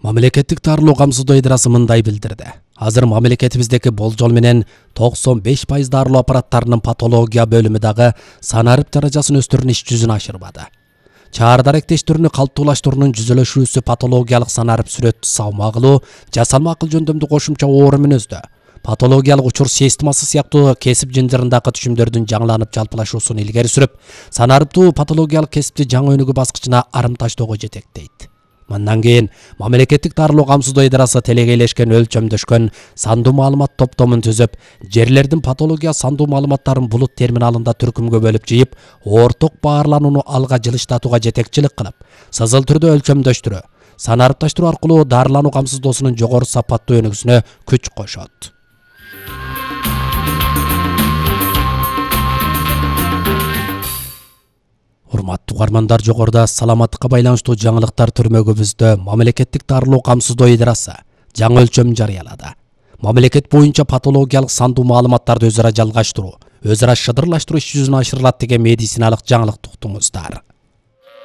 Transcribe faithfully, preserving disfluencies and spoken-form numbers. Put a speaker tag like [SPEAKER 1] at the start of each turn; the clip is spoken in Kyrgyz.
[SPEAKER 1] Мамлекеттик дарылоо камсыздоо ыйдрасы мындай билдирди. Азыр мамлекетибиздеги болжол менен токсон беш пайыз дарылоо аппараттарынын патология бөлүмү дагы санарып даражасын өстүрүүнүн иш жүзүн ашырбады. Чаар даректештөрүнү калыптуулаштыруунун жүзөлөшүүсү патологиялык санарып сүрөт салмагылуу, жасалма акыл жөндөмдү кошумча оор мүнөздө. Патологиялык учур системасы сыяктуу кесип жынжырындагы түшүмдөрдүн жаңыланып жалпылашуусун илгери сүрүп, санарыптуу патологиялык кесипти жаңы өнүгүү баскычына арым таштоого жетектейт. Мындан кийин мамлекеттик дарылоо камсыздоо ыйдрасы телегейлешкен өлчөмдөшкөн сандуу маалымат топтомун түзүп, жерлердин патология сандуу маалыматтарын булут терминалында түркүмгө бөлүп жыйып, орток баарланууну алга жылыштатууга жетекчилик кылып, сызыл түрдө өлчөмдөштүрүү, санарыпташтыруу аркылуу дарылануу камсыздоосунун жогору сапаттуу өнүгүүсүнө күч кошот. Урматтуу угармандар, жогоруда саламаттыкка байланыштуу жаңылыктар түрмөгүбүздө мамлекеттик дарылоо камсыздоо ыйдрасы жаңы өлчөм жарыялады. Мамлекет боюнча патологиялык сандуу маалыматтарды өзара жалгаштыруу, өзара шыдырлаштыруу иш жүзүнө ашырылат деген медициналык жаңылыкты уктуңуздар.